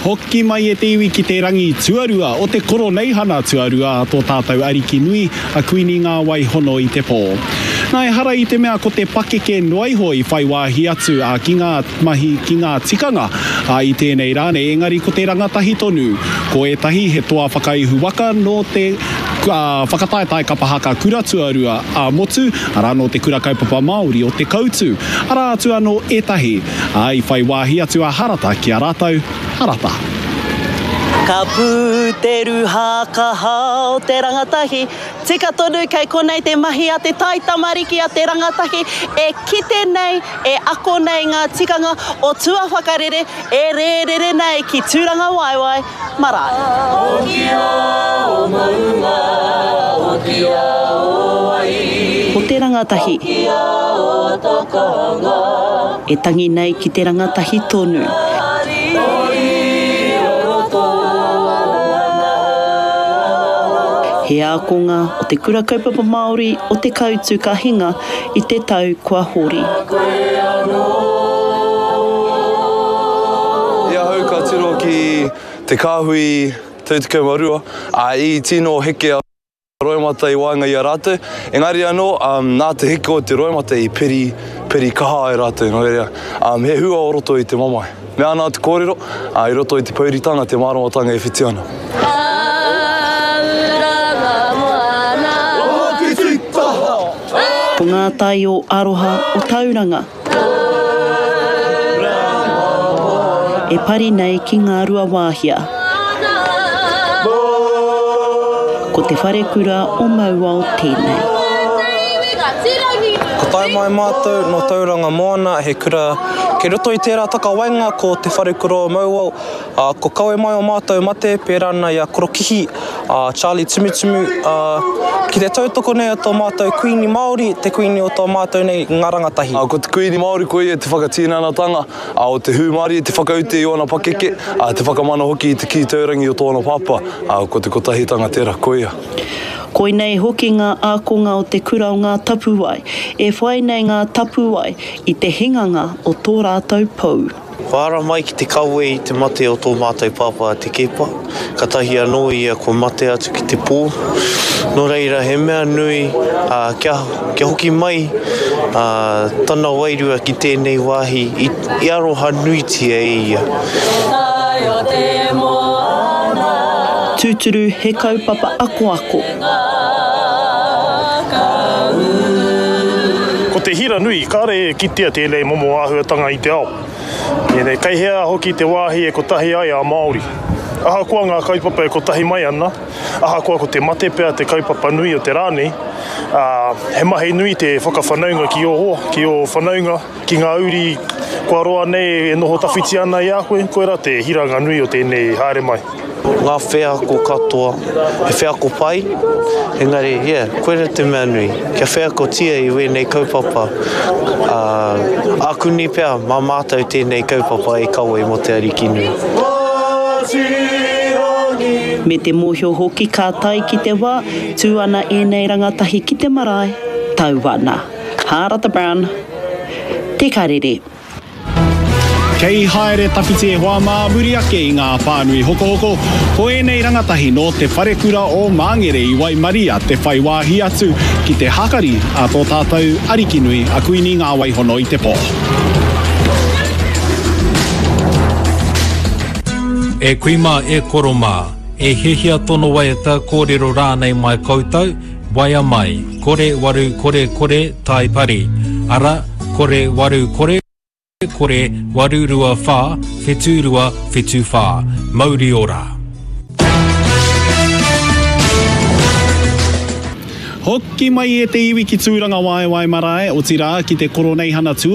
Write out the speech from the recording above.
Hoki mai e te iwi ki te rangi tuarua o te Koroneihana tuarua a tō tātou Ariki nui, a Kuini Ngā Wai Hono i te Pō. Nā, ehara i te mea ko te pakeke noa iho i whai wāhi atu a ki ngā mahi, ki ngā tikanga a i tēnei rā nei, engari ko te rangatahi tonu. Ko ētahi he toa whakaihu waka nō te whakataetae kapa haka kura tuarua ā-motu, arā nō te Kura Kaupapa Māori o Te Koutu. Arā atu anō ētahi, ā, i whai wāhi atu a Harata ki a rātou, Harata. Ka pū te ruha kaha o te rangatahi, tika tonu kei konei te mahi a te taitamariki a te rangatahi e kite nei, e ako nei ngā tikanga o tua whakarere e rērere nei ki Tūrangawaewae marae. Hokia o maunga, hokia o wai. Ko te rangatahi. Hokia o takanga. E tangi nei ki te rangatahi tonu. Toi o roto ana. He ākonga o Te Kura Kaupapa Māori o Te Kautu ka hinga i te tau kua hori. Koe anō. I ahau ka tiro ki te kāhui 32, ā, i tino heke a roimata i waenga i a rātou, engari anō, nā te heke o te roimata i piri, piri kaha ai rātou, nō reira, he hua o roto i te mamae. Mea ana te kōrero, ā, i roto i te pouritanga te māramatanga e whiti ana. Ko ngā tai o Aroha o Tauranga. E pari nei ki Ngāruawāhia. Ko te wharekura o Mauao tēnei. Ka tae mai mātou nō Tauranga Moana, he kura kei roto i tērā takawaenga ko Te Wharekura o Mauao, ā, ko kawe mai o mātou mate pērā ana i a Korokihi, a Charlie Tumutumu, ā, ki te tautoko nei o tō mātou Kuini Māori, te Kuini o tō mātou nei ngā rangatahi. Ā, ko te Kuini Māori ko ia te whakatinanatanga, ā, o te hūmārie, te whakaute i ōna pakeke, ā, te whakamana hoki i te kī taurangi o tōna pāpā, ā, ko te kotahitanga tērā, ko ia. Koinei hoki ngā ākonga o Te Kura o Ngā Tapuwae e whai nei ngā tapuwae i te hinganga o tō rātou pou. Kua ara mai ki te kawe i te mate o tō mātou pāpā a Te Keepa, katahi anō ia kua mate atu ki te pō. Nō reira, he mea nui kia, kia hoki mai tana wairua ki tēnei wāhi i aroha nuitia e ia. Tūturu he kaupapa akoako. Ko te hira nui, kāre e kitea tēnei momo āhuatanga i te ao. Ēnei, kei hea hoki te wāhi e kotahi ai a Māori. Ahakoa ngā kaupapa e kotahi mai ana, ahakoa ko te mate pea te kaupapa nui o te rā nei, ā, he mahi nui te whakawhanaunga ki ō hoa, ki ō whanaunga, Ki ngā uri kua roa nei e noho tawhiti ana i a koe, koirā te hiranga nui o tēnei haere mai. Ngā wheako katoa, he wheako pai, engari, yeah, koirā te mea nui, kia wheakotia i wēnei kaupapa, ā, ākuni pea mā mātou tēnei kaupapa e kawe mō Te Arikinui. Me te mōhio hoki ka tae ki te wā, tū ana ēnei rangatahi ki te marae, tau ana. Hārata Brown, Te Karere. Kei haere tawhiti e hoa mā muri ake i ngā pānui hokohoko, ko ēnei rangatahi nō Te Wharekura o Māngere i waimaria te whai wāhi atu ki te hakari a tō tātou Arikinui a Kuini Ngāwaihono i te Pō. E kui mā, e koro mā, e hiahia tono waiata, kōrero rānei mai koutou, Waea mai, kore waru kore kore tai pari, ara, kore waru kore kore 824 72 74. Mauri ora. Hoki mai e te iwi ki Tūrangawaewae marae, otirā ki te Koroneihana Tua.